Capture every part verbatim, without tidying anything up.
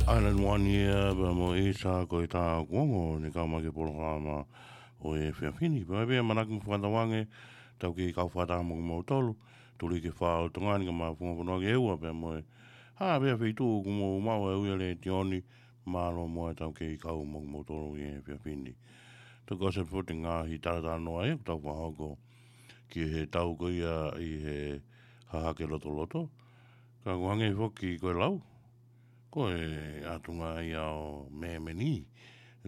Island One ia, pea mo Isa, ko e tā kuongo, ne kau mai ki he polokalama ʻo e efiafi ni. Pea pea manaki mo fakatauange, tau kei kau fakataha mo kimoutolu, tuli ki he fā ʻo Tonga ni ka mafunga fonua ki he ua, pea mo e, ha, pea feituʻu kuo mou maʻu e ui e letiō ni, mālō muʻa tau kei kau mo kimoutolu ʻi he efiafi ni. Tokua se foʻi ngaahi talatalanoa ia, ʻoku tau fakahoko ki he tau ko ia ʻi he hahake lotoloto. Ka ʻoku hangē foki ko e lau, ko e ʻatunga ia ʻo mēmeni,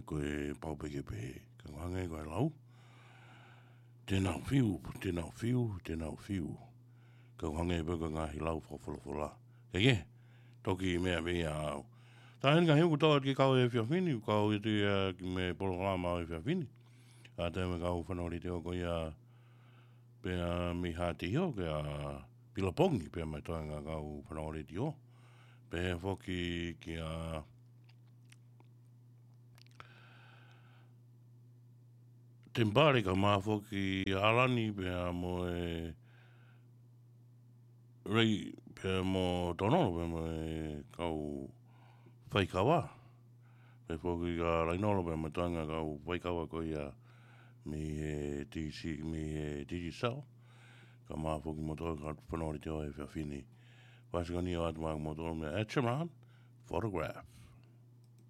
ko e pau pē ke pehē. Ka ʻoku hangē ko e lau, te nau fiu, te nau fiu, te nau fiu. Ka ʻoku hangē pē ko e ngaahi lau fakafolofola. Ke ke, toki meʻa pē ia au. Tā heni ka hiu kuo tau atu ki he kau efiafi ni, kau atu ia ki he polokalama ʻo e efiafi ni. ʻA e tau mo e kau fanongo letiō ko ia pea mei Haʻateiho, kia Pilapongi, pea mo e toenga kau fanongo letiō. Pea foki kia Tempare, ka maʻa foki ʻAlani, pea mo e Rei, pea mo Tonolo, pea mo e kau faikava. Pea foki kia Lainolo, pea mo e toenga kau faikava ko ia mei he T C, mei he Digicel. Ka maʻa foki kimoutolu kau fanongo letiō he efiafi ni. Fasikoni ʻoatu maʻa kimoutolu meia Etcheron Photograph.